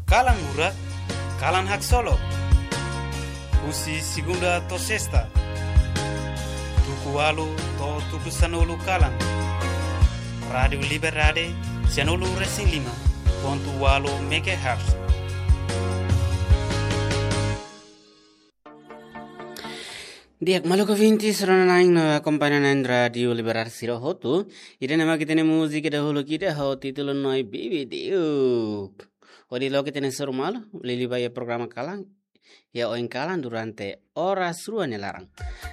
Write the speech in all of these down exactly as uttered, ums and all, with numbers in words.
Kalan Murak, kalan haksolok. Husi segunda to'o sesta, tuku ualu to'o tuku sanulu kalan. Rádiu Liberdade, sanulu resin lima pontu ualu megahertz. Di'ak, maluk ouvintes rona-na'in no akompaña na'in Rádiu Liberdade sira hotu. Ida-ne'e mak ita-nia múzika dahuluk ida ho títulu Noi Bibi Diuk. Hodi loke ita-nia soru malu, liuliu ba iha programa kalan, iha oin kalan durante oras rua nia laran.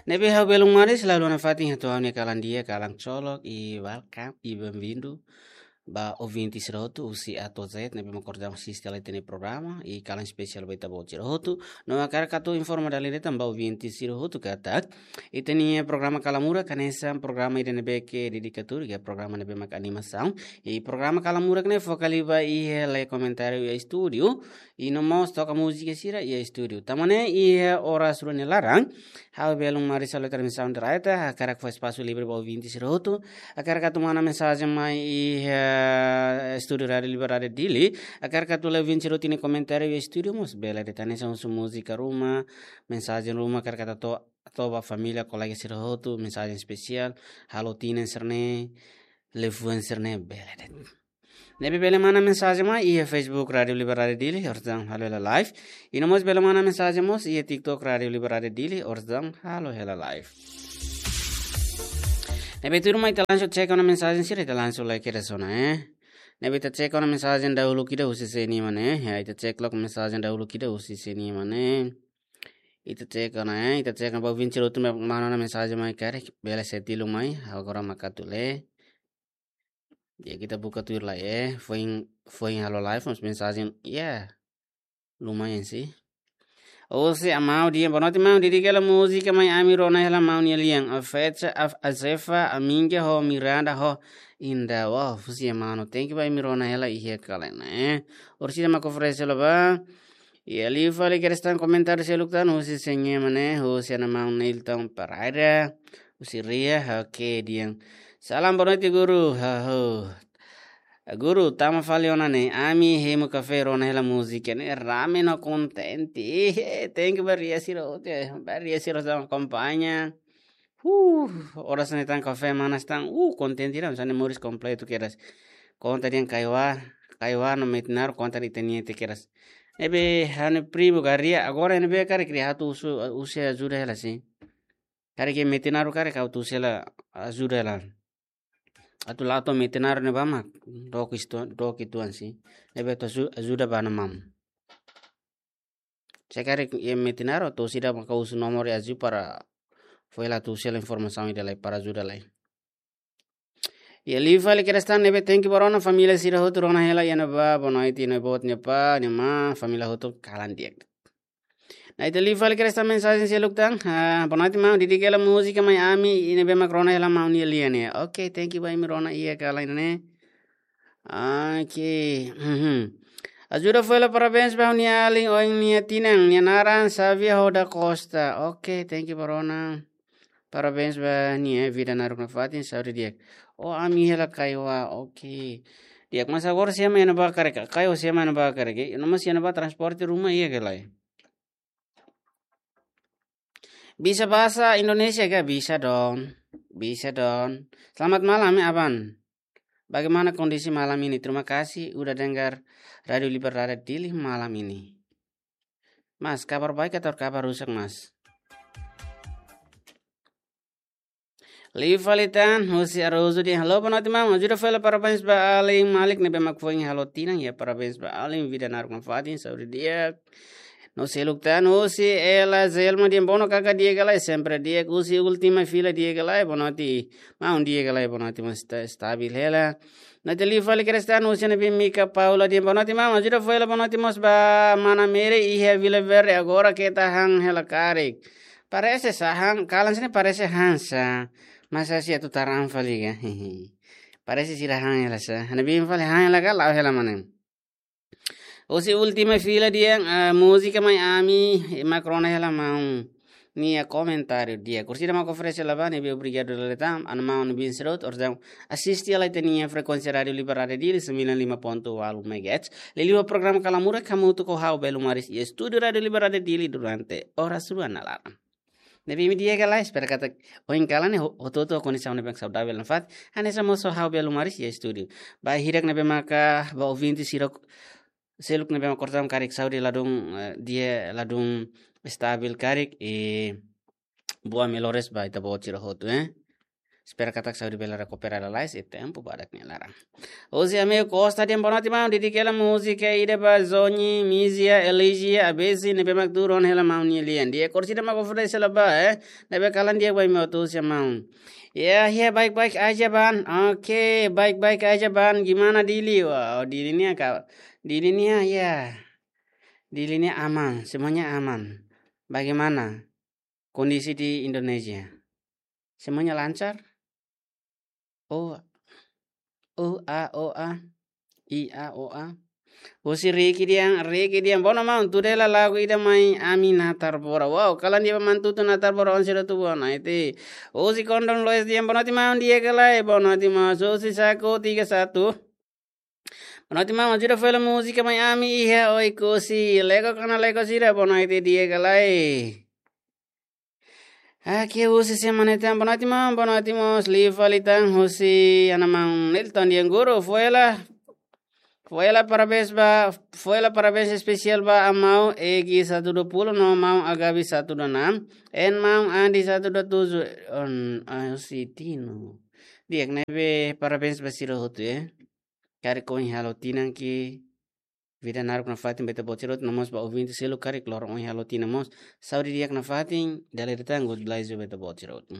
Ne'ebé ha'u belun maris, halo ona fatin hato'o ha'u-nia kalan di'ak, kalan kolok, i welcome, i bem-vindo ba ouvintes sira hotu, husi A to'o Z, ne'ebé mak orsida asiste hela ita-nia programa, i kalan espesiál ba ita-boot sira hotu. No hakarak atu informa dala ida tan ba ouvintes sira hotu katak ita-nia programa Kalan Murak hanesan programa ida ne'ebé ke dedikadu, iha programa ne'ebé mak animasaun. I programa Kalan Murak ne'e foka liu ba iha lee komentáriu iha estúdiu, i no mós toka múzika sira iha estúdiu. Tanba ne'e iha oras rua nia laran, ha'u belun maris halo transmisaun direta, hakarak fó espasu livre ba ouvintes sira hotu, hakarak atu manda mensajen mai iha estúdiu Rádiu Liberdade Dili, hakarak atu lee ouvinte sira hotu nia komentáriu iha estúdiu mós bele de'it, hanesan husu múzika ruma, mensajen ruma, hakarak atu hato'o ba família, kolega sira hotu, mensajen espesiál, halo tinan sira-ne'e, liafuan sira-ne'e bele de'it. Ne'ebé bele manda mensajen mai iha Facebook Rádiu Liberdade Dili, orsida halo hela live. I no mós bele manda mensajen mós iha TikTok Rádiu Liberdade Dili, orsida halo hela live. Ne'ebé tuirmai ita langsung cek ona mensajen sira, ita langsung lee kedas ona, eh. Ne'ebé ita cek ona mensajen dahuluk ida husi sé-nia ema ne'e, ya, ita cek loos mensajen dahuluk ida husi sé-nia ema ne'e. Ita cek ona, eh, ita cek ona ba ouvinte sira hotu mak manda ona mensajen mai karik, bele sei tilun mai, agora mak atu lee. Ya, ita buka tuir lai, eh, foin, foin halo live, mas mensajen, ya, lumayan sih. Husi Amau Dian, boa noite, maun, dedika hela múzika Mai Ami Rona Hela Maun Nia Lian, a Fecha, a, a Zefa, a Minga ho Miranda ho Inda, wow, husi Amau no, thank you ba imi rona hela iha kalan ne'e, eh. Orsida mak oferese hela ba. Iha liu fali kedas tan komentáriu seluk tan, husi sé-nia ema ne'e, husi ana maun Nilton Pereira, husi Ria, oke, dehan. Salam, boa noite, guru. Haho. Guru, tama fali ona ne'e, ami hemu kafé rona hela múzika ne'e, rame no kontente. Eh, thank you ba ria sira hotu, eh, ba ria sira hotu akompaña. Huh, oras ne'e tan kafé manas tan, uh, kontente ida, hanesan moris kompletu kedas. Konta dehan Kaiwa, Kaiwa no Metinaro, konta dehan ita-nia te kedas. Ne'ebé ha'u-nia primu ka ria, agora ne'ebé karik ria atu husu, husu ajuda hela sih. Karik iha Metinaro karik ha'u atu husu hela ajuda hela. Atu la'o to'o Metinaro ne'ebá mak dook istu-, dook uitoan sih. Ne'ebé atu aju-, ajuda ba ana maun. Se karik iha Metinaro, entaun sira maka husu nomor iha Aziu para fó hela atu husu hela informasaun ida lai para ajuda lai. Iha liu fali kedas tan, ne'ebé thank you ba rona, família sira hotu rona hela iha ne'ebá, boa noite, ne'e boot, ne'e pá, ne'e má, família hotu kalan di'ak. Nah, ita liu fali kedas tan mensajen seluk tan. Ah, boa noite, maun, dedika hela múzika Mai Ami, i ne'ebé mak rona hela maun nia lian ne'e. Oke, thank you ba imi rona iha kalan ne'e. Oke. Mhm. Ajuda fó hela parabéns ba ha'u-nia alin oin nia tinan, nia naran Xavier Roda Costa. Oke, thank you ba rona. Parabéns ba nia, vida naruk nafatin, saúde di'ak. Oh, ami hela Kaiwa, oke. Di'ak, mas agora sé mak iha ne'ebá karik, Kaiwa sé mak iha ne'ebá karik, eh? No mas iha ne'ebá transporte ruma iha ka lae? Bisa bahasa Indonesia ka? Bisa dong. Bisa dong. Selamat malam, ya, Aban. Bagaimana kondisi malam ini? Terima kasih udah dengar Radio Liberdade Dili malam ini. Mas, kabar baik atau kabar rusak, Mas? Liu fali tan, husi Arozu dehan, halo, boa noite, maun. Ajuda fó hela parabéns ba alin Malik ne'ebé mak foin halo tinan, ya, parabéns ba alin, vida naruk nafatin, saúde di'ak. No seluk tan, husi Ela Zelma dehan, bono kaka di'ak ka lae, sempre di'ak, husi Última Fila di'ak ka lae, boa noite, maun, di'ak ka lae, boa noite, mas sta-, stabil hela. Nah, ita liu fali kedas tan, husi Ana Bimika Paula dehan, boa noite, maun, ajuda fó hela boa noite mós ba mana Mary iha Vila Verde, agora keta han hela karik. Parese sá han, kalan sira-ne'e parese han sá. Mas asi atu taran fali ka? Parese sira han hela sá. Ana Bim fali han hela ka, la'o hela mana. Husi Última Fila dehan, ah, múzika Mai Ami, i mak rona hela maun. nia komentáriu di'ak. Orsida mak oferese labane be obrigadu dala ida tan, ana maun bin sirot, orsida asiste lai ita-nia frekuénsia Rádiu Liberdade Dili, sembilan lima ponto walu megahertz. Liuliu programa Kala Murak, hamutuk ho ha'u Belu Maris iha estúdiu Rádiu Liberdade Dili durante oras rua na laran. Ne'ebé imi di'ak ka lae, espera katak ohin kalan ne'e ho-, hotu-hotu ho kondisaun ne'ebé saudavel nafatin, hanesan mós ho ha'u Belu Maris iha estúdiu. Ba hirak ne'ebé maka, ba ouvinte sira seluk ne'ebé maka kortaun karik saúde ladún, eh, di'ak ladún estabil karik, eh, boa melhoras ba ita-boot sira hotu, eh. Espera katak saúde bele rekupera lalais iha tempu badak nia laran. Husi amigu Costa dehan boa noite maun, dedika hela múzika ida ba Zoni, Mizia, Elisia, Abesi, ne'ebé mak tuur ona hela maun nia lian. Di'ak, orsida mak oferese labá, eh. Ne'ebé kalan di'ak ba imi hotu husi maun. Ya, ya, baik-baik aja, Ban. Oke, baik-baik aja, Ban. Gimana Dili? Wah, Dili nia ka-, Dili nia, ya. Dili nia aman, semuanya aman. Bagaimana kondisi di Indonesia? Semuanya lancar? Oh, oh, ah, oh, ah. I, a, o, a. Husi Riki dehan, Riki dehan, boa noite maun, tuda hela lagu ida mai ami natar bora. Wow, kalan di'ak ba maun tutu natar bora, ohin sira tuur ona, ete. Husi Kondon Lois dehan, boa noite maun, di'ak ka lae, boa noite maun. Husi Saku tiga satu. Boa noite maun, ajuda fó hela múzika mai ami iha Oekusi. Lekok ka lae lekok sira, boa noite, di'ak ka lae. Oke, husi semana tan, boa noite maun, boa noite maun, liu fali tan husi ana maun Nilton dehan guru, fó hela, fó hela parabéns ba, fó hela parabéns espesiál ba amau Egi satu dua puluh no maun Agabi satu dua enam, en maun Andi satu dua tujuh, on, ah, husi Tino. Di'ak, ne'ebé parabéns ba sira hotu, eh. Karik ohin halo tinan ke vida naruk nafatin ba ita-boot sira hotu, no mós ba ouvinte seluk karik loron ohin halo tinan mós. Saúde di'ak nafatin, dala ida tan good bless ba ita-boot sira hotu.